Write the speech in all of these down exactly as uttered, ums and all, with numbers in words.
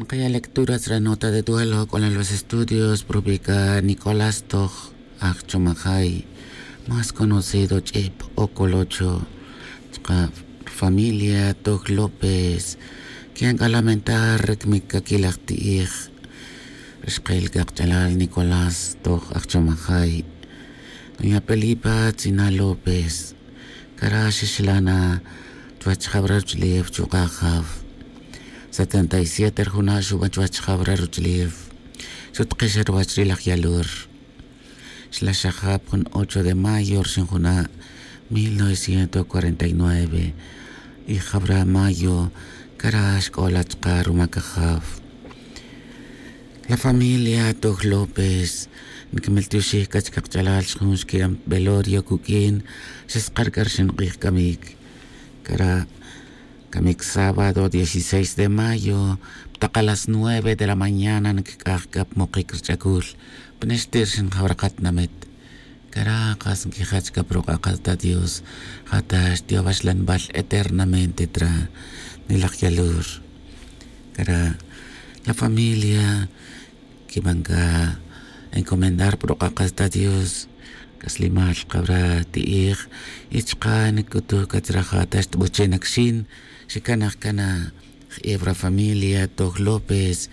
Nkaya' lectura chre nota de duelo k'olal los estudios propica nicolás toj aj chomajay, más conocido ch'ip o colocho, chka familia toj lópez. Kiyan k'a lamentar ri kmic kakilaj ti'ij ri xkil kaqch'alal nicolás toj aj chomajay, doña pelipa tzina lópez. Cara' xixla' na chuwech jawra ruch'ulef chuk'a' jaw. Setenta y siete ri juna' xuban chuwech jawra ruch'ulef. Xutikix ruwech ri laj yalur. Xla' xajap jun ocho de mayo rixin juna' mil novecientos cuarenta y nueve. Y jawra mayo cara' xk'ola' chka' rumac ajaw. La familia toj lópez nkimiltioxij c'a chkakch'alal xjun xqui'an velorio cuq'uin. Xeskar c'a rixin k'ij camic. Cara' camic sábado dieciséis de mayo ptak' a las nueve de la mañana nkic'aj c'a pmokic ri ch'acul. Pnexti' rixin jawra katinamit. Cara' kas nquijach c'a pa ruk'a' kata dios. Ja ta xti' awaxlanbal eternamente tra. Nilaj yalur. Cara' la familia quiban c'a encomendar pa ruk'a' kata dios. C'aslimal jkawra ti'ij y chka' nic'utuj c'a chra ja ta xtbuche' nac xin. Xicanaj c'a na. J'iw ra familia toj lópez.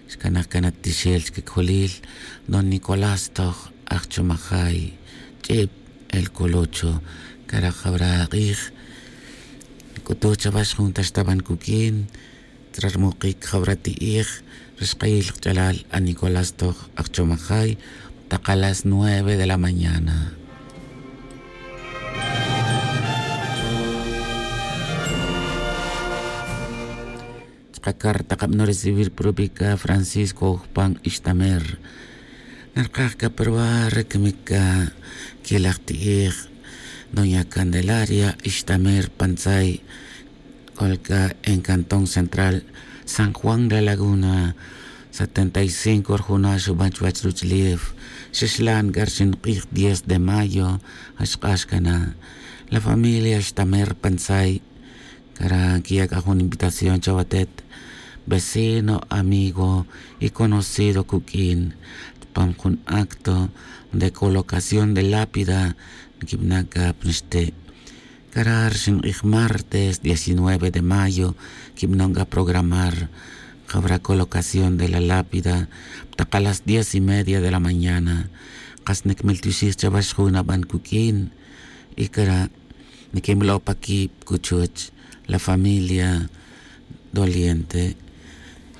Xcanaj c'a na tixel chic cjolil. Don nicolás toj aj chomajay ch'ib el colocho. Cara' jawra k'ij nic'utuj chawax jun ta xtaban cuq'uin. Chra rmukic jawra ti'ij ri xkayil kach'alal a nicolás toj aj chomajay. Ptak' a las nueve de la mañana. Chka' carta kabano recibir propica francisco jupan ixtamer. Narkaj c'a pa ruwa' ri camic c'a quilaj ti'ij doña candelaria ixtamer pantzay. C'ol c'a en cantón central san juan la laguna. Setenta y cinco ri juna' xuban chuwech ruch'ulef. Xixlan c'a rixin k'ij diez de mayo. Axk'ax c'a na la familia ixtamer pantzay. Cara' quiya' c'a jun invitación chawatet vecino amigo y conocido cuq'uin. Chupam jun acto de colocación de lápida nquibana' c'a pa nixti'. Cara' rixin k'ij martes diecinueve de mayo quibanon c'a programar. Jawra colocación de la lápida ptak' a las diez y media de la mañana. Kas nicmiltioxij chawax jun aban cuq'uin. Y cara' niquinbalo' pa quib cuchuch la familia doliente.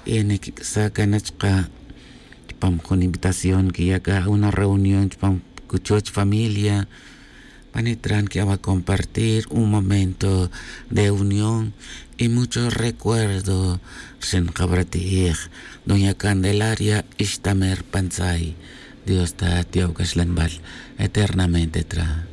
Y niquic'sa' cana chka' chupam jun invitación quiya' c'a una reunión chupam cuchuch familia. Panitra niqui'awa compartir un momento de unión y mucho recuerdo. Rixin jawra ti'ij doña candelaria ixtamer pantzay. Dios ta ti'ow c'axlanbal eternamente tra.